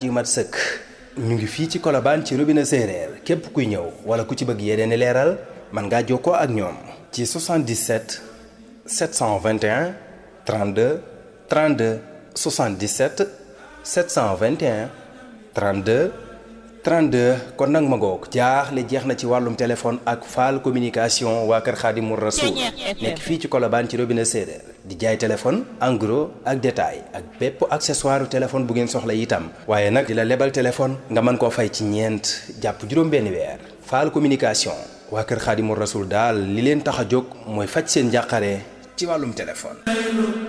yu mat sëkk ñu ngi fii ci Colobane ci robinet séeréer képp kuy ñëw wala ku ci bëgg yeneen i leeral mën ngaa jokkoo ak ñoom ci 77 721 32 32 77 721 32 32 kon nag ma ngoog jaaxle jeex na ci wàllum téléphone ak Fall communication waa kër Xaadimu Rasuul nekk fii ci Colobane ci robinet séeréer di jaay téléphone en gros ak détail ak bépp accessoire téléphone bu ngeen soxla itam waaye nag di la lebal téléphone nga mën koo fay ci ñeent jàpp juróom-benn weer Fall communication waa kër Xaadimu Rasuul daal li leen tax a jóg mooy faj seen njàqare ci wàllum téléphone